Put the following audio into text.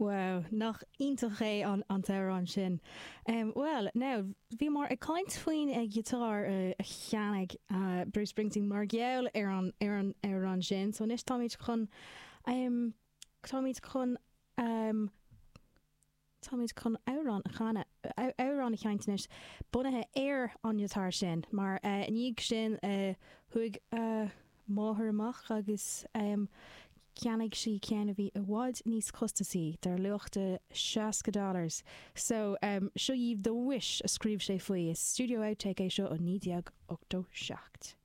Wow, nach iontach é an an t-amhrán sin. Bhuel, now, bhíomar ag caint faoin ghiotár a cheannaigh Bruce Springsteen mar gheall ar an ar an amhrán sin, so anois táimid chun, táimid chun, táimid chun amhrán a chanadh, amhrán a sheinnt anois bunaithe ar an ngiotár sin, mar i ndiaidh sin chuaigh a máthair amach agus cheannaigh sí ceann a bhí i bhfad níos costasaí, dar luach de 60 dollars. So, seo dhaoibh The Wish a scríobh sé faoi. Is studio outtake é seo ó 1987.